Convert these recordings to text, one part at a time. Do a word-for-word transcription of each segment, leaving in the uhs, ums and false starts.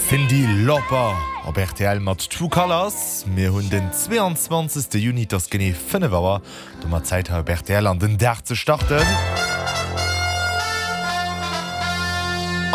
Cyndi Lauper op rtl mat True Colors. Mir hunn den zweeanzwanzegste Juni, et ass genee fënnef Auer. Domat Zäit hei op rtl an den Dag ze starten.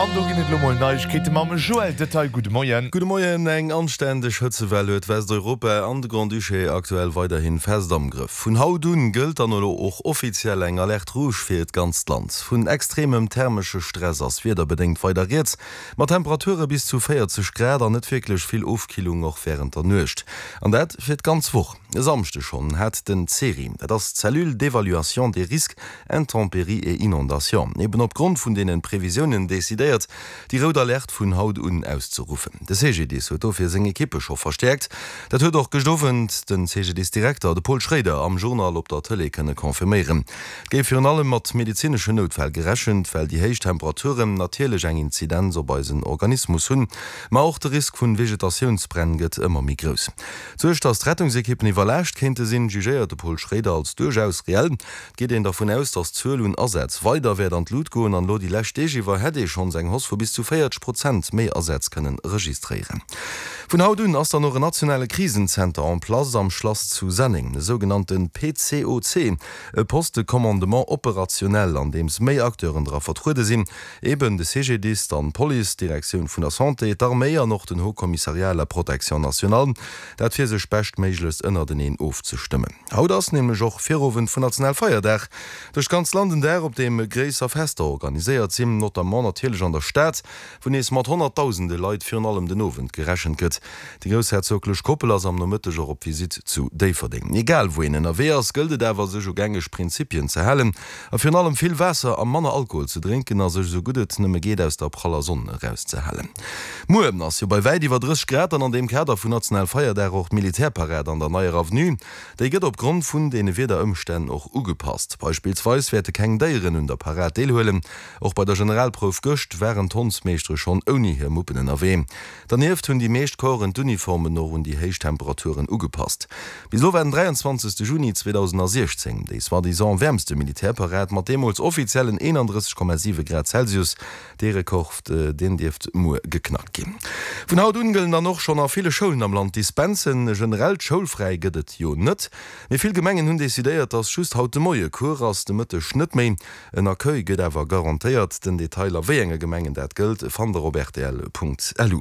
An do ginn et elo mol Neiegkeete mam Joël Detail. Gudde Moien. Gudde Moien. Eng anständeg Hëtzewell huet Westeuropa an de Grand-Duché aktuell weiderhi fest am Grëff. Vun haut un gëllt dann elo och offiziell eng Alerte rouge fir d'ganzt Land. Vun extremem thermesche Stress ass wiederbedéngt weider rieds, mat Temperature bis zu véierzeg Grad an net wierklech vill Ofkillung och wärend der Nuecht. An dat fir d'ganz Woch. E Samschde schonn hat den CERI, dat ass d'Cellule d'évaluation des risques intempéries et inondations, eben opgrond vun deenen Previsiounen decidéiert, déi rout Alerte vun haut un auszeruffen. De C G D I S huet dofir seng Ekippe scho verstäerkt. Dat huet och gëscht Owend den C G D I S-Direkter, de Paul Schroeder, am Journal op der Tëlee kënne confirméieren. Et géif virun allem mat medezineschen Noutfäll gerechent, well déi héich Temperaturen natierlech eng Inzidenz op eisen Organismus hunn. Ma och de Risk vun Vegetatiounsbränn gëtt ëmmer méi grouss. D'Suerg, datt d'Rettungsekippen iwwerlaascht kéinte sinn, jugéiert de Paul Schroeder als duerchaus reell. Et geet een dervun aus, datt d'Zuel un Asätz weider wäert an d'Lut goen an elo déi lescht Deeg iwwer hätt ee schonns eng Hausse vu bis zu véierzeg Prozent méi Asätz kënnen registréieren. Vun haut un ass dann och en nationale Krisenzenter en place am Schlass zu Senneng, e sougenannte P C O C, e Poste de commandement opérationnel, an deems méi Acteuren dra vertruede sinn, eben de C G D I S, dann d'Police, d'Direktioun vun der Santé, d'Arméi an och den Haut Commissariat à la protection nationale, dat fir sech beschtméiglechst ënnerteneen ofzestëmmen. Haut ass nämlech och Virowend vun Nationalfeierdag, duerch d'ganz Land en Dag, op deem gréisser Fester organiséiert sinn, notamment natierlech an der Stad, wou nees mat honnertdausende Leit virun allem den Owend gerechent gëtt. Déi groussherzoglech Koppel ass am Nomëtteg och op Visitt zu Déifferdeng. Egal wou een ënnerwee ass, gëllt et awer, sech u gängeg Prinzipien ze halen a virun allem vill Waasser a manner Alkohol ze drénken a sech esou gutt et nëmme geet aus der praller Sonn erauszehalen. Muer ass jo bei wäit iwwer drësseg Grad an an deem Kader vun Nationalfeierdag och d'Militärparad an der Neier Avenue. Déi gëtt opgrond vun deene Wiederëmstänn och ugepasst. Beispillsweis wäerte keng Déieren un der Parad deelhuelen. Och bei der Generalprouf gëscht waren d'Hondsmeeschtere schonn ouni hir Muppen ënnerwee. Dernieft hunn déi meescht Corpsen d'Uniformen och un déi héich Temperaturen ugepasst. Bis elo war den dräianzwanzegste Juni zweedausensiechzéng déi soi-disant wäermste Militärparad mat deemools offiziellen eenandrësseg Komma siwe Grad Celsius. Dee Rekord, deen dierft muer geknackt ginn. Vun haut un gëllen dann och schonn a ville Schoulen am Land Dispensen. E generellt Schoulfräi gëtt et jo net, mee vill Gemengen hunn decidéiert, dass just haut de Moie Cours ass, de Mëtteg net méi. En Accueil gëtt awer garantéiert. Den Detail a wéi enge Gemengen dat gëllt, fannt der op rtl Punkt L U.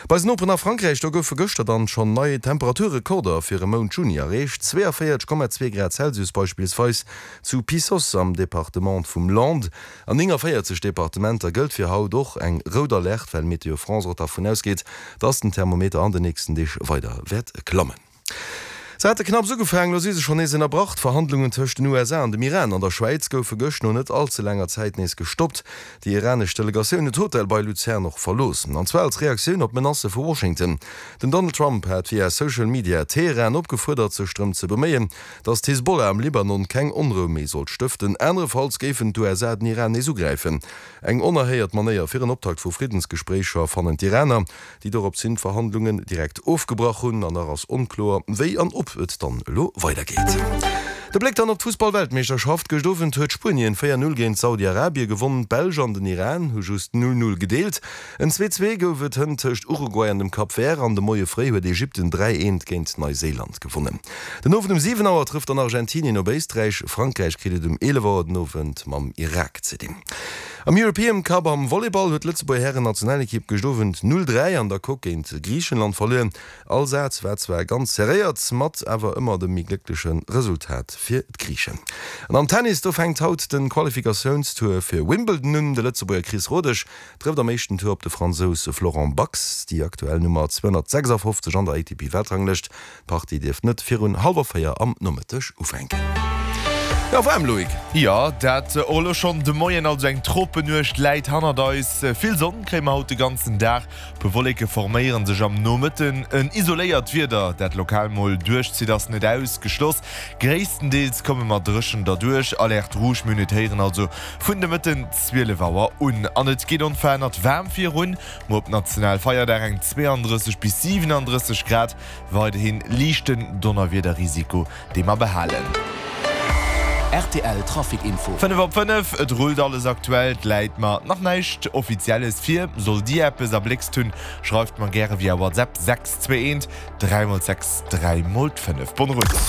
Bei eisen Noperen a Frankräich, do goufe gëschter dann schonn nei Temperaturrekorder fir e Mount Juni erreecht, zweiundvéierzeg Komma zwee Grad Celsius beispillsweis zu Pissos am Departement vum Landes. An nénganvéierzeg Departementer gëllt fir haut och eng rout Alerte, well Météo France och dervun ausgeet, dass den Thermometer an den nächsten Deeg weider wäert klammen. Se hate knapps ugefaangen, elo si se schonn nees ënnerbrach, D'Verhandlungen tëscht den U S A an dem Iran an der Schwäiz goufe gëscht no net all ze laanger Zäit nees gestoppt. Déi iranesch Delegatioun huet d'Hotel bei Luzern och verlooss, an zwar als Reaktioun op d'Menacë vu Washington. Den Donald Trump hat via Social Media Teheran opgefuerdert, sech drëm ze beméien, datt d'Hisbollah am Libanon keng Onrou méi sollt stëften, anerefalls géifen d'U S A den Iran nees ugräifen. Eng onerhéiert Manéier fir en Optakt vu Friddensgespréicher, fannen d'Iraner, déi doropshin d'Verhandlungen direkt ofgebrach hunn. An nach ass onkloer, wéi an ob et dann elo weidergeet. De Bléck dann op d'Fussball-Weltmeeschterschaft, Gëscht Owend huet Spuenien véier Null géint Saudi-Arabie gewonnen. D'Belsch an den Iran hu just null Null gedeelt. En zwee Zwee gouf et hënt tëscht Uruguay an dem Cap Vert an de Moie fréi huet Ägypten dräi Eent géint Neuséiland gewonnen. Den Owend um siwen Auer trëfft dann Argentinien op Éisträich. Frankräich kritt et um eelef Auer den Owend mam Irak ze dinn. Am European Cup am Volleyball huet d'Lëtzebuerger Hären-Nationalekipp gëscht Owend null dräi an der Coque géint Griichenland verluer. All Saz war zwar ganz serréiert, mat awer ëmmer dem méi gléckleche Resultat fir d'Griichen. An am Tennis, do fänkt haut de Qualifikatiounstour fir Wimbledon un. De Lëtzebuerger Chris Rodesch trëfft am éischten Tour op de Fransous Florent Bax, déi aktuell Nummer zweehonnertsechsafofzeg an der A T P-Weltranglëscht. D'Partie dierft net virun hallwer véier am Nomëtteg ufänken. Jo, waarm, Loïc. Jo, dat och elo schonn de Moien, also eng Tropenuecht läit hannert eis. Vill Sonn kréie mer haut de ganzen Dag, puer Wolleke forméiere sech am Nomëtten. En isoléiert Wieder, dat lokal mol duerchzitt, ass net ausgeschloss. Gréisstendeels komme mer dréchen derduerch. Alerte rouge, mir hunn et héieren, also vun de Mëtten zwielef Auer un. An et geet onverännert waarm virun, muer op Nationalfeierdag eng zweiundrësseg bis siwenandrësseg Grad, weiderhi liichten Donnerwiederrisiko, dee mer behalen. Rtl Trafic Info. Fënnef op fënnef, et rullt alles aktuell, et läit mer nach näischt Offizielles vir. Sollt Dir eppes erbléckst hunn, schreift mer gäre via WhatsApp sechs zwee eent dräi mol sechs dräi mol fënnef. Bonne route!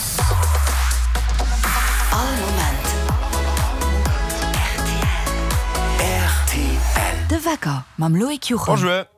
All Moment rtl. De Wecker mam Loïc Juchem. Bonjour!